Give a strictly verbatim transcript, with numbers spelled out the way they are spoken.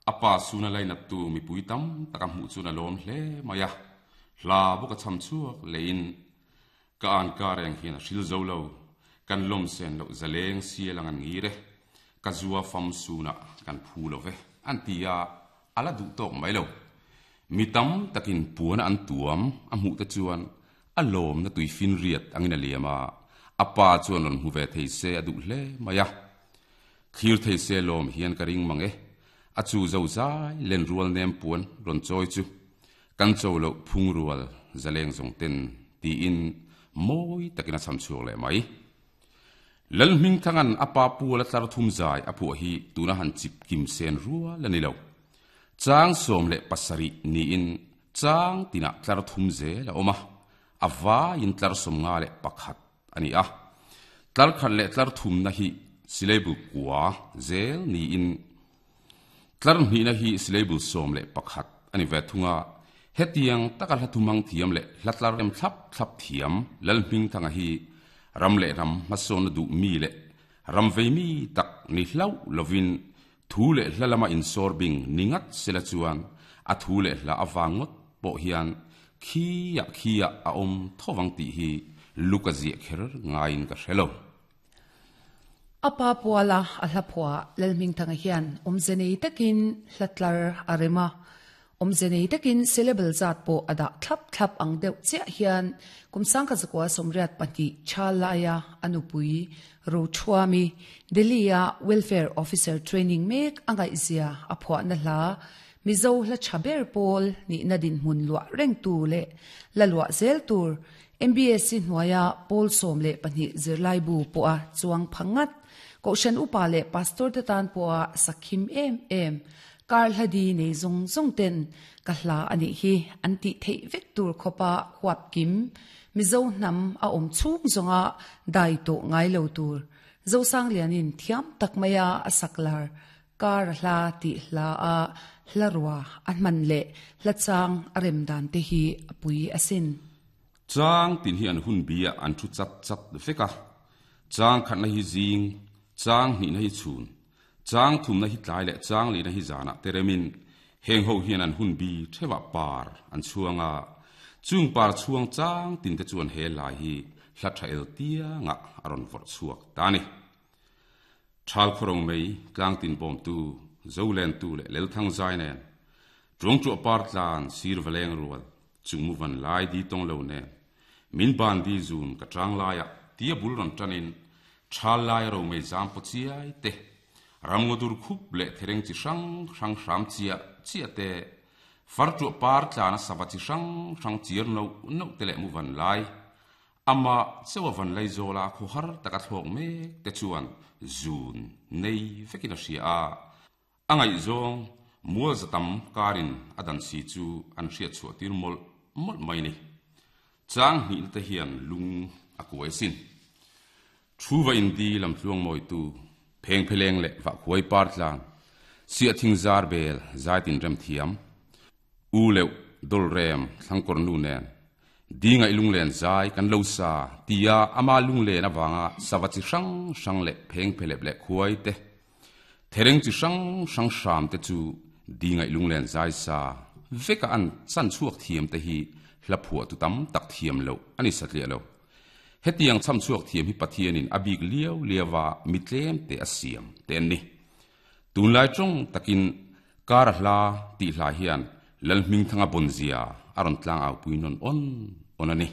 Apa suna lain tu mi puitam takam hu chuna lom hle maya hla boka cham chuak lein ka an ka reng hian a hril zo lo kan lom sen lo zaleng sialang an ngire ka zuwa fam suna kan phu lo ve an tia ala du tok mai lo mitam takin puana an tuam a mu ta chuan a lom na tui fin riat angina liama apa chuan ron huve thei se adu hle maya khir thei se lom hian ka ring mange a chu zo zai len rual nem puan ron choi chu kan cho lo phung rual zaleng zong ten ti in moi takina cham chuak le mai lal ming thangan apa pu la tlar thum zai apu hi tuna han chip kim sen rual ani lo chang som le pasari ni in chang tina tlar thum ze la oma awa in tlar som nga le pakhat ani a tlar khat le tlar thum na hi syllable kwa zel ni in tlar ni na hi syllable som le pakhat ani ve thunga hetiang takal hathumang thiam le hlatlar em thlap thlap thiam lal hming thanga hi ram le ram mason du mi le ram ve mi tak ni hlau lovin thu le hlalama in sorbing ningat sela chuan a thu le hla awangot po hian khia khia a om thowang ti hi lukazi kher ngain ka hrelo apa puala a hlaphua lalming thanga hian omzenei takin hlatlar arema omzenei takin syllable zat po ada thlap thlap ang deuh che hian kumsang kha zakwa somriat pahnih chalaya anupui rochuami delia welfare officer training mek angai zia aphwa na hla mizo hla chaber pol ni nadin hun lua reng tu le lalwa zel tur M B S C hnuaia pol som le pahnih zirlai bu po a chuang phangat ko shan upa le pastor te tan po a sakhim em em kar hladi nei zong zong ten ka hla ani hi anti thei vek tur khopa huap kim mizo nam a om chung zonga dai to ngai lo tur zo sang lianin thiam takmaya asaklar kar hla ti hla a hlarwa an man le hlachang arem dan te hi apui asin chang tin hi an hun bia an thu chat chat veka chang khat na hi jing chang ni na hi chun chang thum na hi tlai le chang li na hi zana teremin heng ho hian an hun bi thewa par an chuanga chung par chuang chang tin te chuan he lai hi hla tha el tia nga aron vor chuak tani thal khorong mei tlang tin bom tu zolen tu le lel thang zai nen trung chu par tlan sir valeng rual chung mu van lai di tong lo ne min ban di zun ka chang lai a tia bul ron tanin thal lai ro mei jam po chiai te ramngodur khup le thereng chi sang sang sam chia chia te far chu par tlan sawa chi sang sang chir no no te le mu van lai ama sewa van lai zola khu har taka thok me te chuan zun nei vekina sia a angai zong mual zatam karin adan si chu an hria chu tir mol mol mai ni chang ni te hian lung a kuai sin thuwa in di lam tluang moi tu pheng pheleng le wa khuai par tlang sia thing zar bel zai tin rem thiam u leu dol rem thlangkor nu nen dinga ilung len zai kan lo sa tia ama lung le na wanga sawachi sang sang le pheng phelep le khuai te thereng chi sang sang sam te chu dinga ilung len zai sa veka an chan chuak thiam te hi hlaphua tu tam tak thiam lo ani satlia lo hetiang cham chuak thiam hi pathianin abik liau liawa mitlem te asiam ten ni tunlai chong takin kar hla ti hla hian lalhming thanga bonzia aron tlang au puinon on onani.